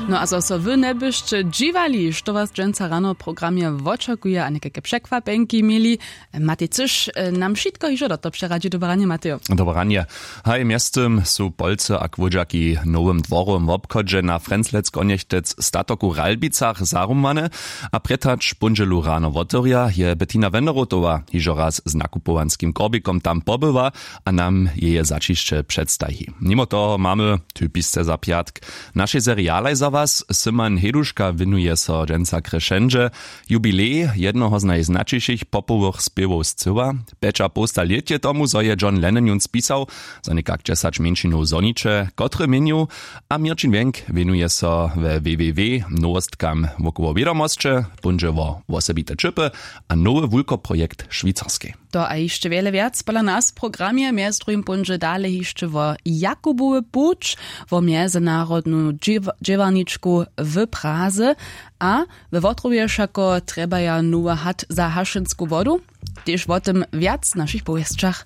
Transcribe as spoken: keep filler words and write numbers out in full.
No a zo so wy njebyšće dźiwali, što was dźensa rano w programje wočakuje a někajke překwapenki měli, matej cyš, nam wšitko hižo do to přeradźi. Dobre ranje, matejo. Dobre ranje. Haj, mjeztym su polcy a kłódźaki w nowym dworowym wobchodźe na frenzlec konjechtec statoku w Ralbicach zarumłane, a prětać póndźelu rano wotewrja. Je Bettina Wenderotowa hižo raz z nakupowanskim korbikom tam pobyła a nam jeje zaćišće předstaji. Nimo toho mamy typisce za pjatk w našej serialaj za was. Syman Heduška wěnuje so dźensa krešendźe, jubilej jednoho z najznaćišich popowych spěwow scyła. Pjećapołsta lět je tomu, zo je John Lennon jón spisał, zo někak dźesać mjeńšinow zhoniće, kotre měnju. A Měrćin Wjenk wěnuje so we www nowostkam wokoło wědomosće, póńdźe wo wosebite ćěpy a nowy wulkoprojekt w Šwicarskej. To a hišće wjele wjac pola nas w programje. Mjez druhim póńdźe dale hišće wo Jakubowy puć, wo mjezynarodnu dźěw- dźěłarničku w Praze. A we Wotrowje wšako trjebaja nowy hat za hašensku wodu. Tež wo tym wjac w našich powěsćach.